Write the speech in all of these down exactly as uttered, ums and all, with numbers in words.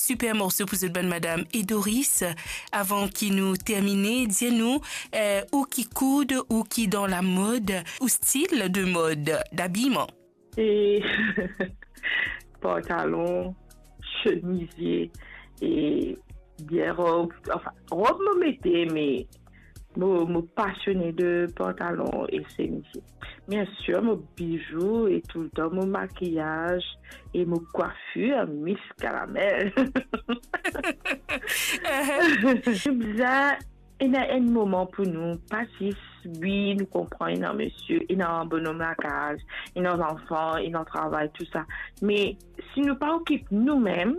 Super morso pou zot bann madam. E Doris, avan ki nou termine, dir nou, eh, ou ki koud, ou ki dan lamod, ou stil de mod, dabiman? E pantalon, chemizie, e bien rob. Anfin, rob mo mete, me mo, mo pasione de pantalon e chemizie. Bien sir, mo bizou e toultan mo makiyaz e mo kwafir Miss Caramel. Bizin ena enn moman pou nou, pa zis, wi, nou konpran, ena misie, ena bonom lakaz, ena zanfan, ena travay, tou sa. Me si nou pa okip noumem,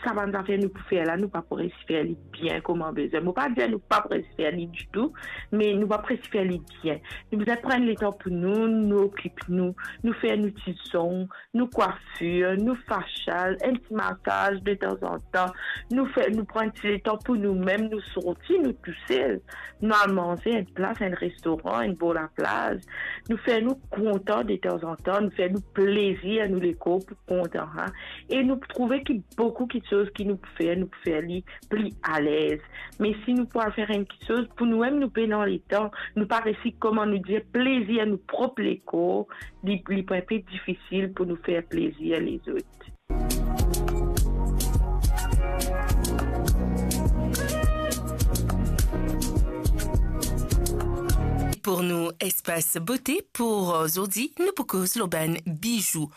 sa bann zafer nou pou fer la, nou pa pou resi fer li bien kouma bizin. Mo pa dir nou pa pou resi fer li ditou, me nou pa pou resi fer li bien. Nou bizin pran letan pou nou, nou okip nou, nou fer nou ti zong, nou kwafir, nou fasyal, enn ti masaz detanzantan, nou fer, nou pran ti letan pou noumem, nou sorti, nou tousel, nou al manze enn plas, enn restoran, enn bor laplaz, nou fer nou kontan detanzantan, nou fer nou plezir, nou lekor pou kontan, ha. E nou trouve ki boukou kiksoz ki nou pou fer, nou pou fer li pli alez. Me si nou pou al fer enn kiksoz pou noumem, nou pena letan, nou pa resi, kouma nou dir, plezir nou prop lekor, li, li pou enpe difisil pou nou fer plezir lezot. Pou nou espas bote pou zordi, nou pou koz lor bann bizou.